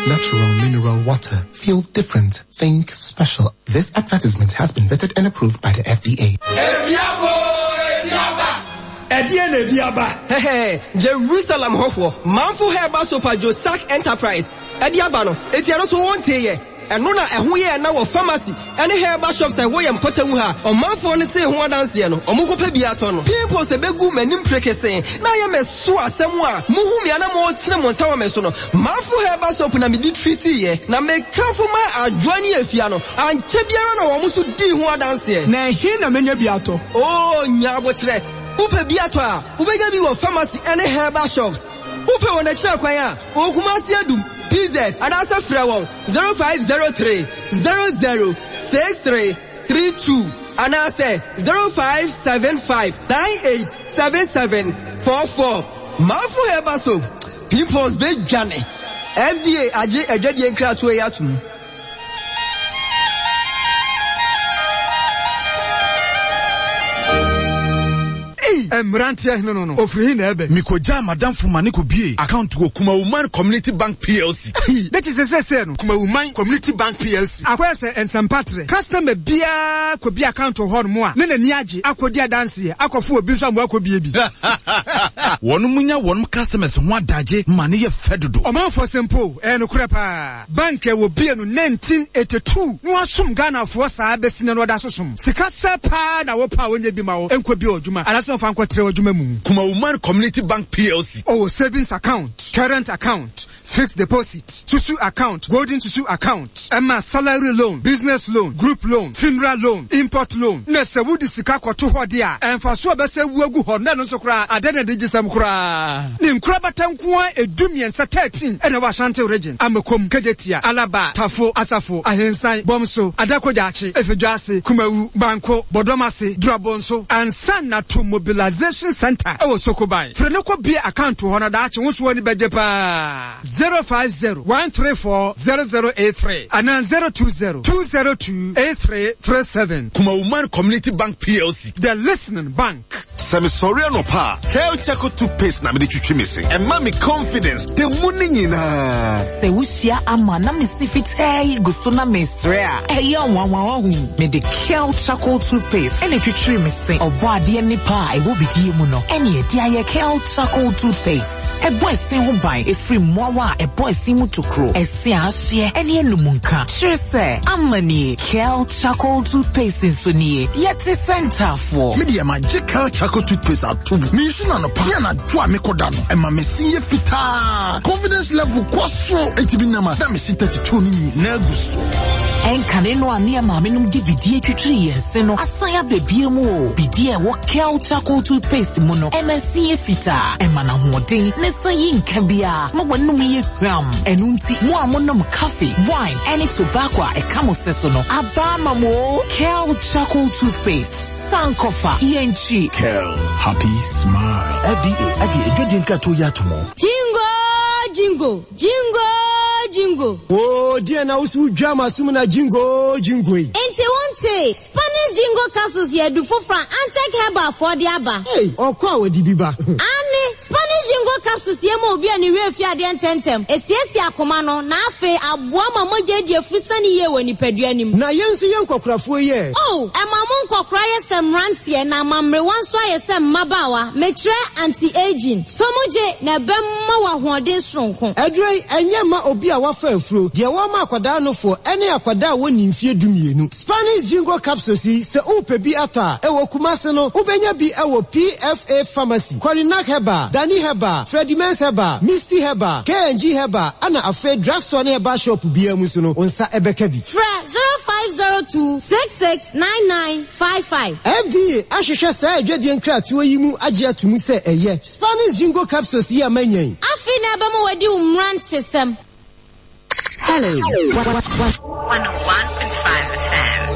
Natural Mineral Water. Feel different. Think special. This advertisement has been vetted and approved by the FDA. Ɛdeɛn na ebi aba? Hɛhɛ, Jerusalem hɔhoɔ, Manfo Herbal Soap a Josak Enterprise de aba no, enti ɛno nso wonteeɛ? Ɛno na ɛho yɛɛ na wɔ pharmacy ne herbal shops a ɛwɔ yɛn mpɔtam ha a ɔmanfoɔ no tee ho adanseɛ no, wɔkɔpɛ bi atɔ no. Pimples bɛgu m'anim prekesee na ayɛ me so asɛm a mohu me a na motene mo nsa wɔ me so no, Manfo Herbal Soap na mede treatiiɛ, na mekamfo maa Adwoa ne Afia no, ankyɛ biara na wɔn nso dii ho adanseɛ. Na ɛhe na menya bi atɔ? Oo, nya aboterɛ. Wopɛ bi atɔ a, wobɛnya bi wɔ pharmacy ne herbal shops. Wopɛ wɔn akyiri akwan a, wɔ Kumasi Adum, PZ, anaasɛ frɛ wɔn 0503 00 63 32 anaasɛ 0575 98 77 44. Manfo Herbal Soap, Pimples bɛdwane. FDA agye adwadie nkratoɔ yi atom. Ei! Mmeranteɛ hene no no, ɔfiri he na ɛɛbɛ? Mekɔgyaa m'adamfo ma ne kɔbuee account wɔ Kumawuman Community Bank PLC. Ei! Ne kyesɛ seesei no. Kumawuman Community Bank PLC. Akɔyɛ sɛ nsɛmpa trɛ. Customer biara kɔbue account wɔ hɔnom a, ne n'ani agye akɔdi adanseɛ akɔfo obi nso ama wakɔbue bi. Wɔnom nya wɔnom customers ho adagye ma no yɛ fɛ dodo. Ɔmanfoɔ sɛ mpo o, ɛyɛ nokorɛ paa. Bank a wɔbue no 1982 na wɔasom Ghanafoɔ saa bɛsi nnɛ no wɔda so som. Sika sɛ paa na wopɛ a wɔnyɛ bi ma wo nkɔbue w'adwuma anaasɛ wɔmfa nkɔtrɛ w'adwuma mu. Kumawuman Community Bank PLC. Ɔwɔ savings account, current account, fixed deposit, susu account, golden susu account, ɛma salary loan, business loan, group loan, funeral loan, import loan. Na sɛ wode sika kɔto hɔ de a, mfaso a ɛbɛsɛ wu agu hɔ no, na ɛno nso koraa adɛn na anigyesɛm koraa. Ne nkorabata nko ara edu mmiɛnsa, 13, na ɛwɔ Ashanti Region, Amakom, Kejetia, Alaba, Tafo, Asafo, Ahensan, Bomso, Adako Jachie, Efedwoase, Kumawu, Banko, Bɔdɔmase, Durabonso, ansa na to Mobilization Centre wɔ Sokoban. Frɛ na kɔ bue account wɔ hɔ na daakye wo nso w'ani bɛgye paa. 050 134 0083 anaa 020 202 8337. Kumawuman Community Bank PLC. The Listening Bank. Sɛ mesɔre anɔpa a, Kel Charcoal Toothpaste na mede twitwi me se. Ɛma me confidence da mu no nyinaa. Sɛ wohyia ama na me se fitaa yi gu so na mesrɛ a, ɛyɛ nwanwa wahu. Mede Kel Charcoal Toothpaste ɛna etwitwiri me se. Ɔbɔ adeɛ nipa a ɛwɔ bidie mu no ɛne ɛde ayɛ Kel Charcoal Toothpaste. Ɛbɔ ɛse ho ban ɛfiri mmoawa a ɛbɔ ɛse mu tokuro, ɛse a ahyeɛ ɛne anum nka. Kyerɛ sɛ, ama nie. Kel Charcoal Toothpaste nso nie. Yɛte sɛ ntaafoɔ. Me deɛ magye Kel Charcoal Toothpaste ato mu. Meyi no anɔpa ne anadwo a mekɔda no, ɛma me se yɛ fitaa. Confidence level kɔ soro. Enti me nam a na me se 32 no nyinaa gu so. Ɛnkane no a ne yɛn maamenom de bidie twitwiri yɛn se no asan aba bio mu o. Bidie a ɛwɔ Kel Charcoal Toothpaste mu no, ɛma ɛse yɛ fitaa, ɛma no ahoɔden, na ɛsan yi nka biara ma w'anom yɛ hwam. Ɛno nti, mo a monom coffee, wine, ɛne tobacco a ɛka mo se so no, aba ama mo o. Kel Charcoal Toothpaste, Sankofa, yɛnkyi. Kel, happy smile. FDA agye adwadie nkratoɔ yi ato mu. Jingo jingo, jingo jingo. Oo deɛn na wo so wodwa m'asom na jingo jingo yi. Nti wontee? Spanish Jingo capsules yɛ adu foforɔ a Antec Herbal foɔ de aba. Ei, ɔkɔ a wɔde bi ba. Aane, Spanish Jingo capsules yɛ ma obi a ne werɛ fi adeɛ ntɛmntɛm, ɛsiesie akoma no, na afei aboa ma mogya adi afusane yie wɔ nipadua no mu. Na yɛn nso yɛn nkɔkorafoɔ yi ɛ? Oh, ɛma mo nkɔkora yɛ sɛ mmeranteɛ na ama mmerewa nso ayɛ sɛ mmabaawa, mekyerɛ anti-aging. Sɔ mu gye na ɛbɛma wo ahoɔden soronko. Aduro yi, ɛnyɛ mma obi a wafa afuro, deɛ wɔma akwadaa nofoɔ ne akwadaa a wɔnni mfeɛ dumienu. Spanish Jingo Capsules yi, sɛ worepɛ bi atɔ a, ɛwɔ Kumasi no, wobɛnya bi wɔ PFA Pharmacy, Korinak Herbal, Dani Herbal, Freddie Mens Herbal, Misty Herbal, K&G Herbal, ɛna afei drugstore ne herbal shop biara mu nso no, wo nsa bɛka bi. Frɛ 0502 66 9955. FDA ahwehwɛ saa adwadie nkratoɔ yi mu agye ato mu sɛ ɛyɛ. Spanish Jingo Capsules yi a manya yi. Afei na ɛbɛma wadi wo mmerantesɛm. Hello. 101.5 FM.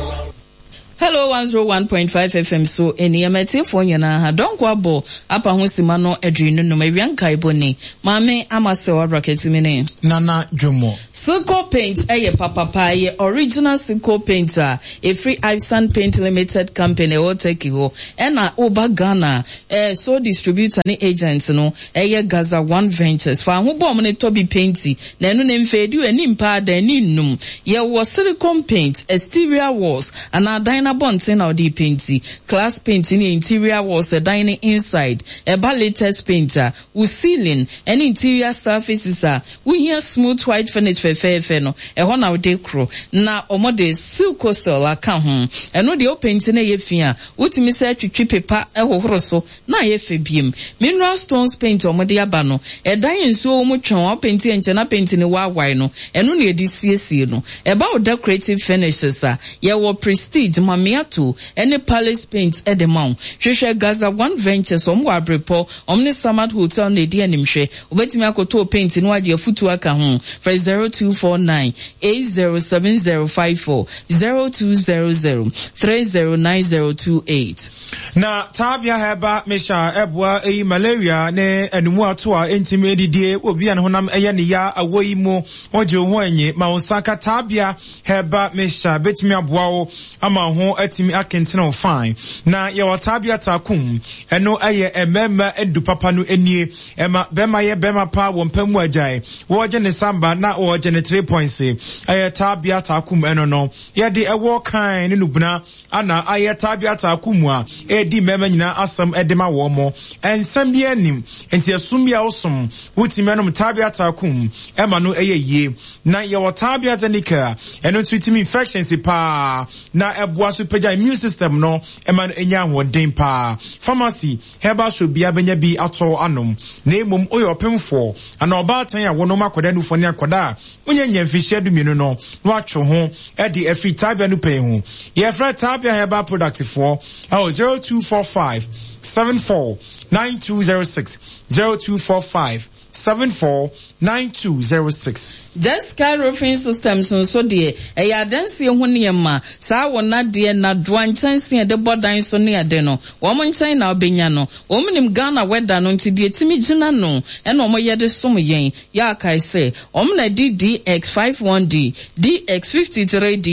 Hello 101.5 FM so nneɛma atiefoɔ nyinaa ha dɔnko abɔ apa ho sima no aduonu num awia nkaebɔ ni maame ama sɛ wabra kɛtumi ne Nana Dwomo. Silco Paint yɛ papapa, ɛyɛ original Silco Paint a ɛfiri Iveson Paint Limited Company ɛwɔ Turkey hɔ. Ɛna woba Ghana a, eh, sole distributor ne agent no ɛyɛ Gaza One Ventures. Fa ho bɔ wɔn na tɔ bi painti, na ɛno no mfeedi o, ɛni mpa adan, ɛni nnum. Yɛwɔ silicone paint, exterior walls, anaa dan no abɔnten na wode repainti. Class paint ne interior walls, ɛdan no inside. Ɛba latex paint a, wo ceiling ne interior surfaces a wohia smooth white finish fɛfɛɛfɛ no, ɛhɔ na wode koro. Na wɔde Silcosel aka ho. Ɛno deɛ wopenti na ɛyɛ fi a, wotumi sɛ twitwi pepa hohoro so na ayɛ fɛ biom. Mineral stones paint a wɔde aba no, ɛdan a nsuo wɔ mu twɔn a wopenti a nkyɛ na penti no waawae no, ɛno na yɛde siesie no. Ɛba wo decorative finishes a, yɛwɔ Prestige, Mamiato, ne Palace Paint de ma wo. Hwehwɛ Gaza One Ventures, wɔn wɔ Abrepɔ, wɔn ne Samad Hotel na ɛdi animhwɛ. Wobɛtumi akɔtɔ wo paint na woagye afutuo aka ho. Frɛ 0249 807054, 0200 309028. Na Tabia Herbal Mixture ɛboa eyi malaria ne anumuato a ɛntumi ɛdidie wɔ obi a ne honam ɛyɛ ne ya awɔ yi mu. Wogye wo ho anyi ma wo nsa ka Tabia Herbal Mixture bɛtumi aboa wo ama wo ho atumi akentene wo fine. Na yɛwɔ Tabia Takum, ɛno ɛyɛ mmarima adu papa no nie. Ɛma bɛrima yɛ bɛrima paa wɔ mpa mu agyae. Wɔgye ne samba na wɔgye ne three points. Ɛyɛ Tabia Takum ɛno no. Yɛde ɛwɔ kan ne nubena ana ayɛ Tabia Takum a ɛredi mmarima nyinaa asɛm de ma wɔn mo. Nsɛm biara nnim. Nti ɛsom bi a wosom, wotumi anom Tabia Takum ɛma no ɛyɛ yie. Na yɛwɔ Tabia Zenica a ɛno nso tumi infections paa na ɛboa so pagya immune system no ɛma no ɛnya ahoɔden paa. Pharmacy Herbal shop biara bɛnya bi atɔ anom, na mmom woyɛ ɔpemfoɔ anaa ɔbaatan a wonom akwadaa nufoɔ ne akwadaa a wonnya nnya mfirihyia dumienu no na woatwe wo ho de afiri Tabia no pɛn ho. Yɛfrɛ Tabia Herbal Product foɔ ɛwɔ 0245 74 9206, 0245 749206. Jesca Roofing Systems nso deɛ, ɛyɛ adansie ho nneɛma, saa wo nnadeɛ, nnadoa, nkyɛnsee a yɛde bɔ dan so ne ade no, wɔn nkyɛn na wobɛnya no. Wɔn nim Ghana weather no nti deɛ ɛtumi gyina no na wɔyɛ de som yɛn. Yɛ akae sɛ, wɔn na ɛde DX51D, DX53D,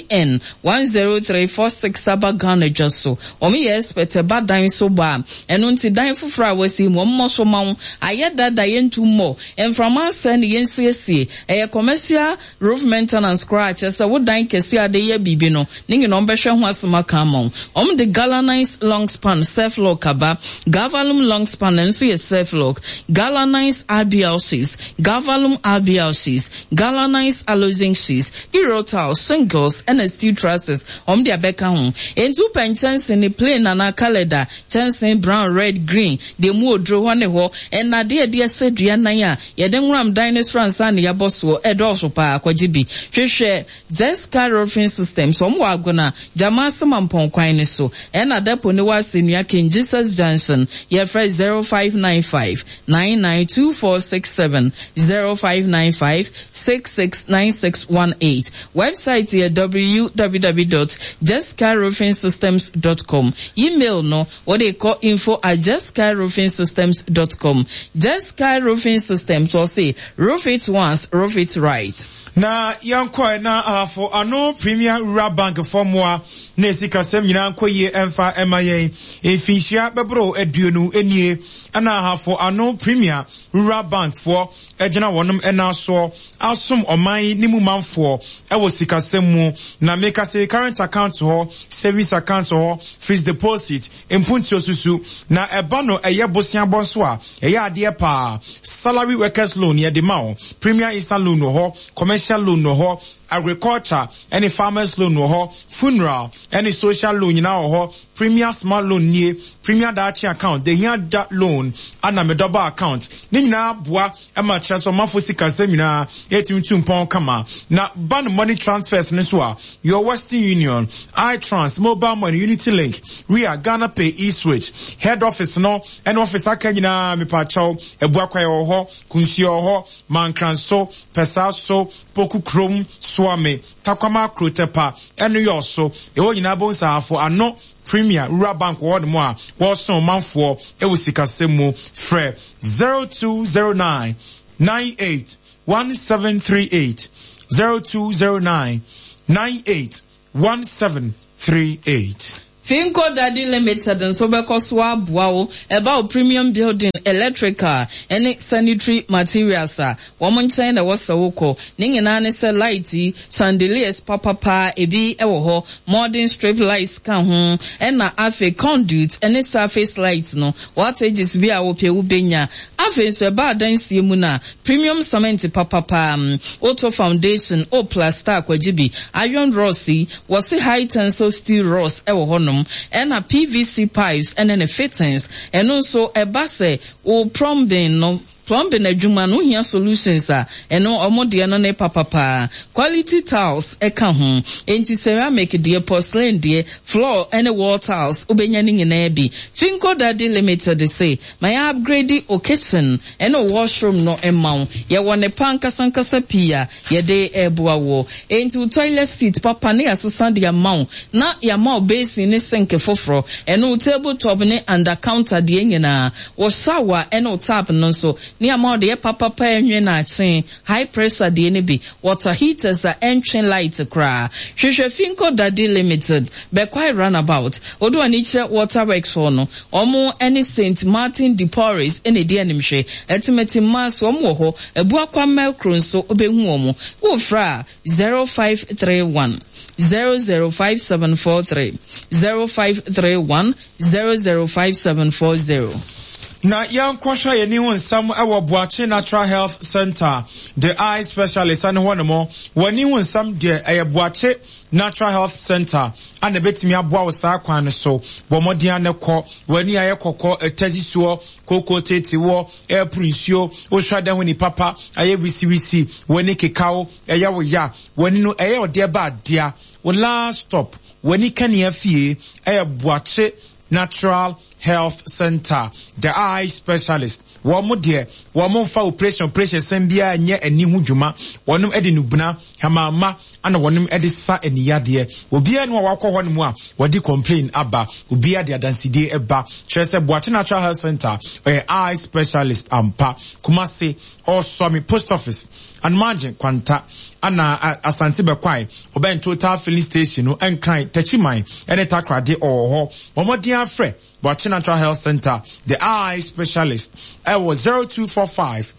YN 10346 aba Ghana dwa so. Wɔn yɛ expert ɛba dan so bɔ a, ɛno nti dan foforɔ a wɔasi mu, wɔn mmɔ so ma wo. Ayɛ dada yɛntu mmɔ, mframa asɛe no yɛnsiesie. Ɛyɛ commercial roof maintenance koraa kyerɛ sɛ wo dan kɛseɛ a wode yɛ biribi no, ne nyinaa wɔn bɛhwɛ ho asɛm aka ama wo. Wɔn de galvanized long span self lock aba. Galvalume long span ɛno nso yɛ self lock. Galvanized RBL sheets, Galvalume RBL sheets, Galvanized aluzinc sheets, Eurotiles, shingles ɛna steel trusses. Wɔn de abɛka ho. Enti wopɛ nkyɛnse ne plain anaa coloured a, kyɛnse brown, red, green, deɛ emu oduro hɔ ne hɔ, nnadeɛ a yɛde ahyɛ dua nan a yɛde nworam dan no soro ansa na yɛabɔ soɔ, ɛdɔɔso paa, kɔgye bi. Hwehwɛ Jesca Roofing Systems, wɔn wɔ Agona, Gyamase Mampɔn kwan no so, ɛna Depot no wɔ Asɛnnua King Jesus Junction, yɛfrɛ 0595 992467, 0595 669618. Wɛbsaet yɛ www dot jessicaroofingsystems dot com. Email no, wode kɔ info at jessicaroofingsystems dot com. Jessica Roofing Systems, wɔse, roof it once, roof it right. Na yɛnkɔɛ na Ahafo Ano Premier Rural Bank foɔ mmoa na sikasɛm nyinaa nkɔ yie ɛmfa ɛma yɛn. Mfinhyia bɛboro aduonu nie ɛna Ahafo Ano Premier Rural Bank foɔ agyina wɔnom nan soɔ asom ɔman yi ne mu manfoɔ wɔ sikasɛm mu, na meka sei current account hɔ, savings account hɔ, fixed deposit, mpuntuo susu, na ɛba no ɛyɛ boseabɔ nso a, ɛyɛ adeɛ paa, salary workers loan yɛde ma wo, premier instant loan wɔ hɔ, commercial loan wɔ hɔ, agriculture ɛne farmers loan wɔ hɔ, funeral ɛne social loan nyinaa wɔ hɔ, Premier smart loan nie, premier daakye account, the hia da loan, ana me dɔba account. Ne nyinaa boa ma kyerɛ sɛ ɔmanfo sikasɛm nyinaa etumi tu mpɔn kama. Na ba no money transfers no nso a, your Western Union, iTrans, Mobile Money, Unity Link, Ria, Ghana Pay, eSwitch, head office no ɛne office aka nyinaa mepaakyɛw, Abuakwae wɔ hɔ, Kunsia wɔ hɔ, Mankranso, Pɛsaaso, Poku Kurom, Suame, Takwama Krotɛpa ne Yɔɔ so ɛhɔ nyinaa bohu sɛ Ahafo Ano Premier Rural Bank wɔ hɔnom a wɔresom ɔmanfoɔ wɔ sikasɛm mu. Frɛ 0209 98 1738. 0209 98 1738. Finco Daddy Limited nso bɛkɔ so aboa wo ɛba wo premium building, electrical ne sanitary materials a, wɔn nkyɛn na ɛwɔ sɛ wokɔ. Ne nyinaa ne sɛ light yi, chandeliers papapa ebi wɔ hɔ, modern strip lights ka ho, ɛna afei conduit ne surface light no, Wattages bi a wopɛ wobɛnya. Afei nso ɛba adansie mu no a, premium cement papapa, woto foundation, wo plaster a kwagye bi, iron rods yi, wɔse high tensile steel rods wɔ hɔnom, ɛna PVC pipes ne ne fittings. Ɛno nso ɛba sɛ wo plumbing no, plumbing adwuma no wohia solutions a, ɛno wɔn deɛ no ne papapa. Quality tiles ka ho. Enti ceramic deɛ, porcelain deɛ, floor ne wall tiles wobɛnya ne nyinaa bi. Finco Daddy Limited se ma yɛn upgrade wo kitchen ne wo washroom no mma wo. Yɛwɔ nnepa ankasa ankasa pii a yɛde reboa woɔ. Enti wo toilet seat papa ne yɛasesa de ama wo na yɛama wo basin ne sink foforɔ, ɛne wo table top ne under counter deɛ nyinaa. Wo shower ne wo tap no nso ne yɛama wo deɛ papapa a ɛnwe na akye, high pressure deɛ no bi, water heaters a ɛntwe light koraa. Hwehwɛ Finco Daddy Limited, Bekwai Runabout. Wode w'ani kyerɛ Water Works hɔ no, wɔn ne Saint Martin de Porres na ɛdi animhwɛ. Atimati mmaa nso, wɔn wɔ hɔ. Abuakwa Melcro nso, wobɛhu wɔn. Wofrɛ a, 0531 005743, 0531 005740. Na yɛnkɔhwɛ yɛn ani ho nsɛm wɔ Boakye Natural Health Centre, The Eye Specialist ne hɔ nom. W'ani ho nsɛm deɛ, ɛyɛ Boakye Natural Health Centre a na ɛbɛtumi aboa wo saa kwan no so. Bɔ mmɔden ara na kɔ. W'ani ayɛ kɔkɔɔ, ɛtɛ si soɔ, kooko tete woɔ, ɛreporo nsuo, wohwɛ adan ho ni papa, ayɛ wisiwisi, w'ani keka wo, ɛyɛ wo ya, w'ani no ɛyɛ ɔdeɛ ba adea. Wo last stop, w'ani kanea fie, ɛyɛ Boakye Natural Health Centre, The Eye Specialist. Wɔn deɛ, wɔn mfa operation operation sɛm biara nyɛ ani ho dwuma. Wɔn de nubena, hamaama, ana wɔn de sa ani yadeɛ. Obiara ni a wakɔ hɔ nom a wɔde complain aba. Obiara de adansedie ba. Kyerɛ sɛ Boakye Natural Health Centre ɔyɛ eye specialist ampa. Kumasi, Ɔsɔmi Post Office, Anomaagye Kwanta, ana Asante Bɛkwae, ɔbɛn Total Filling Station no, Nkran, Takyiman, ɛne Takoradi ɔwɔ hɔ. Bɔ mmɔden ara frɛ Boakye Natural Health Center, The Eye Specialist, ɛwɔ 0245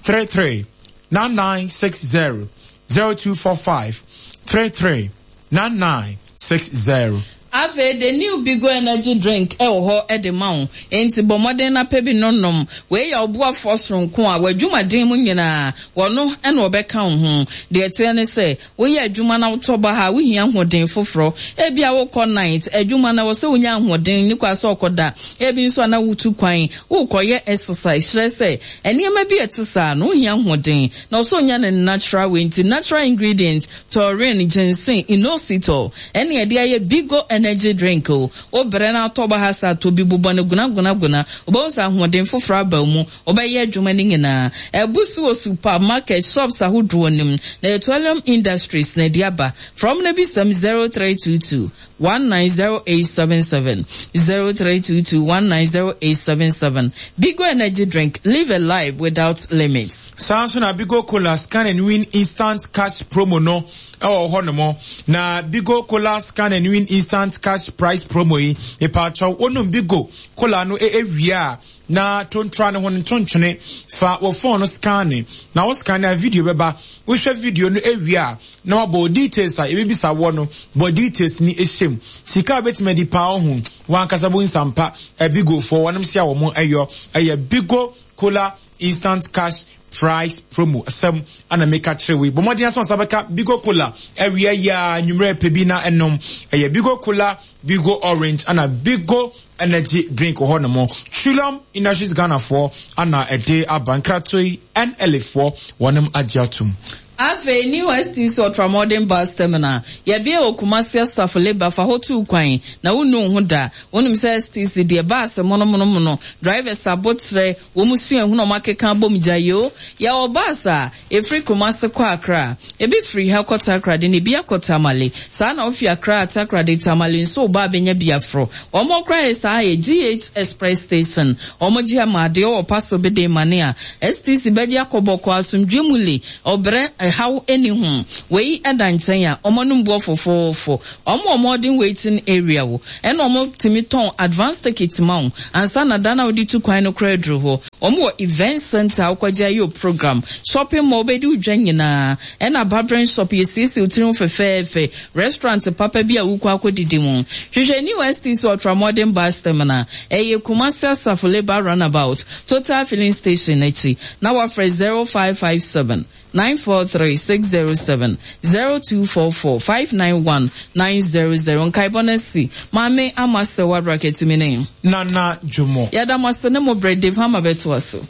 33 9960, 0245 33 9960. Afei de New Bigo Energy Drink wɔ hɔ de ma wo, enti bɔ mmɔden na pɛ bi no nom. Wei yɛ ɔboafoɔ soronko a w'adwumaden mu nyinaa, ɔno na ɔbɛka wo ho. Deɛ ɛteɛ ne sɛ, woyɛ adwuma na wotɔ baha a, wohia ahoɔden foforɔ. Ebia wokɔ night adwuma na ɛwɔ sɛ wonya ahoɔden, nni kwan sɛ wokɔda. Ebi nso a na wotu kwan, worekɔyɛ exercise, kyerɛ sɛ, nneɛma bi a ɛte saa no, wohia ahoɔden. Na ɔsɛ ɔnya no natural way, nti natural ingredients Taurine, ginseng, inositol, ɛne yɛde ayɛ Bigo energy drink o. Wo brɛ na atɔ ba ha sɛ atɔ bi, bobɔ no guna guna guna. Wobɛhu sɛ ahoɔden foforɔ aba wo mu. Wobɛyɛ adwuma no nyinaa. Abu so wɔ supermarket, shops ahodoɔ no mu. Na ɛyɛ Twellium Industries na ɛde aba. Frɛ wɔn na bisa mu 0322 190877, 0322 190877. Bigo energy drink, live a life without limits. Saa nso na Bigo Cola Scan and Win Instant Cash Promo no wɔ hɔ nom. Na Bigo Cola Scan and Win Instant Cash Prize Promo yi, mepaakyɛw, wonom Bigo Cola no wie a, na tontra ne ho no ntontwene. Fa wo phone no scanne, na wo scanne a video bɛba. Wohwɛ video no wie a, na wabɔ wo details a yɛbɛbisa woɔ no, bɔ details no hyɛ mu. Sika a wobɛtumi adi paa wo ho, w'ankasa bo nsampa. Bigofoɔ, wɔnom se a wɔn yɔ, ɛyɛ Bigo Cola Instant Cash Price Promo. Asɛm ana meka kyerɛ wei. Bɔ mmɔden asɛ nsa bɛka Bigo Cola awia yi a nwummerɛ pɛ bi na ɛnom. Ɛyɛ Bigo Cola, Bigo Orange, ana Bigo Energy Drink wɔ hɔ nom. Trillium Industries Ghana foɔ ana ɛde aba. Nkratoɔ yi NLA foɔ wɔnom agye atom. Afei New STC Ultramodern Bus Terminal, Yɛabue wɔ Kumasi Asafo Labour fa hɔ tu kwan na wonnu wo ho da. Wonim sɛ STC deɛ bus monomonomono, drivers aboterɛ, wɔn suahunu a wɔakeka abom gyae oo. Yɛwɔ bus a ɛfiri Kumasi kɔ Accra, ebi firi ha kɔ Takoradi na ebi akɔ Tamale. Saa na wofi Accra, Takoradi, Tamale nso wo ba a bɛnya bi aforo. Wɔn koraa yɛ saa yɛ GH Express Station. Wɔn gye ama adeɛ wɔ parcel bi de mane a, STC bɛgye akɔ bɔkɔɔ asomdwoeɛ mu le. Ɔbrɛ. ɛhaw nni ho. Wei da nkyɛn a, wɔn anom boɔ fofoofo. Wɔn wɔ modern waiting area wo, ɛna wɔn tumi tɔn advance ticket ma wo ansa na da no a wode tu kwan no koraa aduru hɔ. Wɔn wɔ event center a wokɔgye ayɛ wo program, shopping mall wobɛdi wo dwa nyinaa, ɛna barbering shop yɛsiesie wo tiri ho fɛfɛɛfɛ, restaurant papa bi a wokɔ akɔdidi mu. Hwehwɛ New STC Ultramodern Bus Terminal, ɛyɛ Kumasi Asafo Labour Runabout, Total Filling Station no akyi, na woafrɛ 0557 943 607, 0244 591 900. Nkaebɔ no asi. Maame Ama Serwaa Brakatimi ne. Nana Dwomo. Yɛda mo ase ne mo berɛ. Dave Hammer bɛtoa so.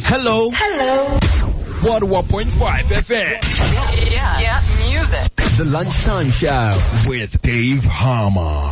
Hello. Hello. 101.5 FM. Yeah. Yeah. Music. The Lunchtime Show with Dave Harmer.